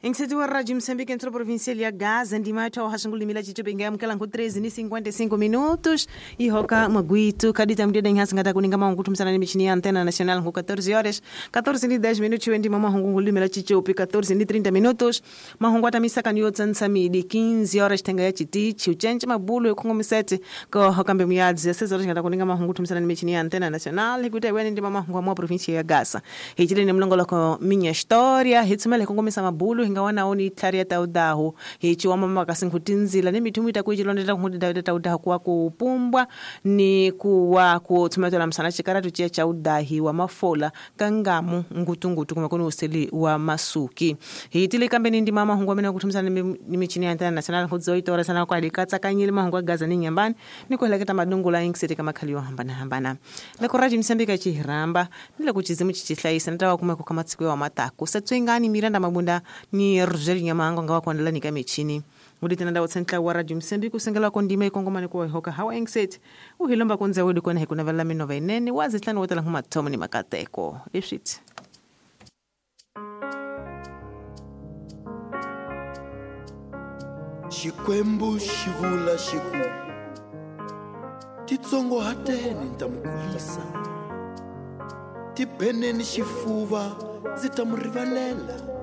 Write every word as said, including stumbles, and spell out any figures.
Inkseti wa Rádio Moçambique entrou província ya Gaza ndima yathu hashingulimi la chichope ngayamukela nku treze ni cinquenta e cinco minutos e roka maguito kadita mdeda nhasa ngata kuninga maungu tumsana ni michini ya antena nacional nku catorze horas catorze ni dez minutos ndima mahungu ngulimi la chichope catorze ni trinta minutos mahungu atamisa kanyo tsansamidi quinze horas tenga ya chitichi uchenche mabulo yokhongomisete ko hokambe muyadzi ya seis horas ngata kuninga mahungu tumsana ni michini ya antena nacional hikuta iweni ndima mahungu amwa província ya Gaza hichile ni mlongoloko minha história hitsumele kongomisa mabulo hinga wana oni tlharia ta udahu hichi wa mama kasinkutinzila ni mithumu ita kuichilondela kuhudi ta udahu kuwa kupumbwa ni kuwa kutsumatela msana chikaratu chia cha udahi wa mafola kangamu ngutungutu kuma kuni useli wa masuki hitile kambeni ndi mama hungu amene kuthumsana ni michini ya antena nacional kudzoitora sana kwa likatsa kanyile mahungu agaza ni nyambani ni kuheleketa madungula inkseti kamakhali yo hambana hambana leko Rádio Moçambique chihiramba ni leko chizimu chichihlayisa nitawa kumeko kamatsiko wa matako satswengani Miranda Mabunda ni Rogério Nyamango nga wakuandala nika michini udi tena ndawo tsentla wa Rádio Moçambique kusengela kondima ikongomani kuwa hoka hawa engset uhilomba kunze wedi kona hikuna vala minova inene wazitlani wotela humathomo ni makateko iswit. Xikwembu xivula xiku titsongohateni ni ta mi kulisa tibeneni xifuva ndzi ta mu rivalela.